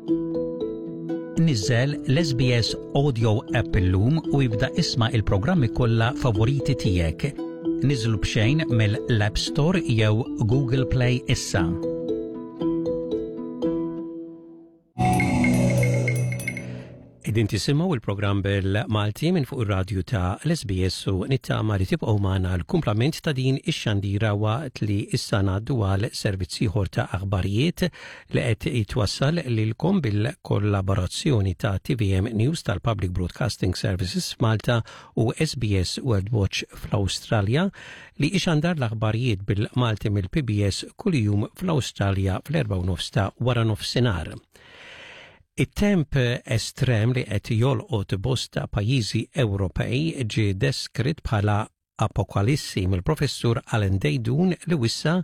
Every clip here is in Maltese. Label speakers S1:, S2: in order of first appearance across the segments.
S1: Niżżel l-SBS Audio app illum u ibda isma' il-programmi kollha favoriti tiegħek. Niżlu b'xejn mill-App Store jew Google Play issa. Qegħdin tisimgħu il-programm bil-Malti minn fuq ir-radju ta' l-SBS u nittama li tibqgħu magħna l-kumplament ta' din ix-xandira waqt li issa ngħaddu għal servizz ieħor ta' aħbarijiet li qed jitwassal lilkom bil-kollaborazzjoni ta' TVM News tal-Public Broadcasting Services f'Malta u SBS World Watch fl-Awstralja li ixandar l-aħbarijiet bil-Malti mill-PBS kuljum fl-Awstralja fl-4 ta' wara nofsinhar. It-temp estrem li qed jolqot bosta pajjiżi Ewropej ġie deskritt bħala apokalissi mill-Professur Alan Deidun li wissa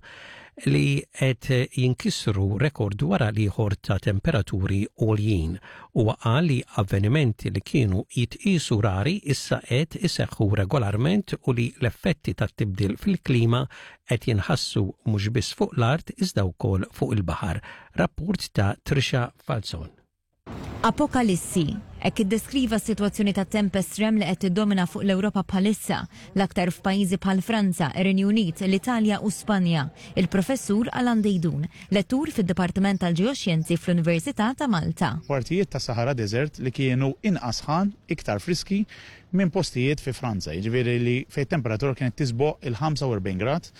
S1: li qed jinkisru rekord wara l-ieħor ta' temperaturi għoljin. Huwa qal li avvenimenti li kienu jitqiesu rari issa qed iseħħu regolarment u li l-effetti tat-tibdil fil-klima qed jinħassu mhux biss fuq l-art iżda wkoll fuq il-baħar. Rapport ta' Trisha Falzon.
S2: Apokalissi, hekk iddeskriva s-sitwazzjoni ta' temp estrem li qed tiddomina fuq l-Ewropa bħalissa, l-aktar f'pajjiżi bħal Franza, ir-Renju Unit, l-Italja u Spanja, il-Professur Alan Deidun, lettur fid-Dipartiment tal-Ġeoxjenzi fl-Università ta' Malta.
S3: Partijiet ta' Sahara Desert li kienu inqas sħan, iktar friski minn postijiet fi Franza, jiġifieri li fejn temperatura kienet tisboq il-45 grad,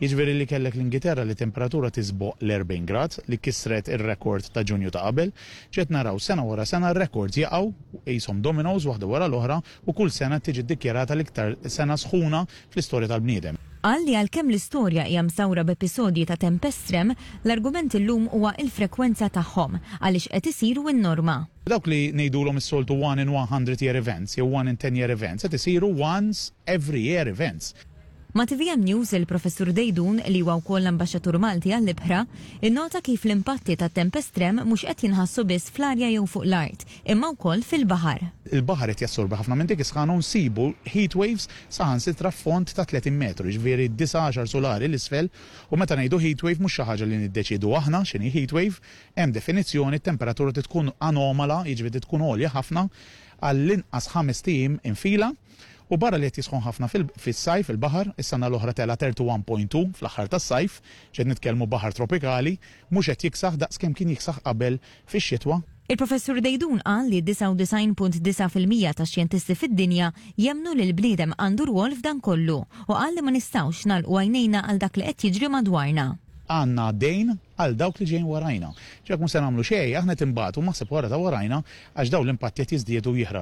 S3: Jiġifieri li kellek l-Ingiterra li temperatura tisboq l-40 grad, li kisret ir-rekord ta' Ġunju ta' qabel. Ġiet naraw sena wara sena r-rekords jaqgħu qishom dominoes waħda wara l-oħra u kull sena tiġi ddikjarata l-iktar sena sħuna fl-istorja tal-bniedem.
S2: Qal li għalkemm l-istorja hija msawra b'episodji ta' temp estrem, l-argument illum huwa l-frekwenza tagħhom, għaliex qed isiru n-norma.
S3: Dawk li ngħidulhom is-soltu one in 100 year events jew one in 10 year events qed isiru once every year events.
S2: Ma' tvm News, il-Professur Deidun, li huwa wkoll l-Ambaxxatur Malti għall-ibħra, innota kif l-impatti tat-temp estrem mhux qed jinħassu biss fl-arja jew fuq l-art, imma wkoll fil-baħar.
S3: Il-baħar qed jassorbi ħafna minn dik is-sħana u nsibu heat waves saħansitra f'fond ta' 30 metru, jiġifieri disa' għaxar sulari 'l isfel, u meta ngħidu heat wave mhux xi ħaġa li niddeċiedu aħna x'inhi heat wave, hemm definizzjoni, t-temperatura trid tkun anomala, jiġifieri trid tkun għolja ħafna għall-inqas ħamest ijiem infila. U barra li qed jisħon ħafna fis-sajf il-baħar, is-sena l-oħra tela' 31.2 fl-aħħar tas-sajf, x'qed nitkellmu baħar tropikali, mhux qed jiksaħ daqs kemm kien jiksaħ qabel fix-xitwa.
S2: Il-Professur Deidun qal li 99.9% tax-xjentisti fid-dinja jemmnu li l-bniedem għandu rwol f'dan kollu u qal li ma nistgħux nagħlqu għajnejna għal dak li qed jiġri madwarna.
S3: Għandna dejn għal dawk li ġejjin warajna. Jekk mhux se nagħmlu xejn, aħna qed inbatu maħseb wara ta' warajna għax dawn l-impatti qed jiżdiedu u jiħraxu.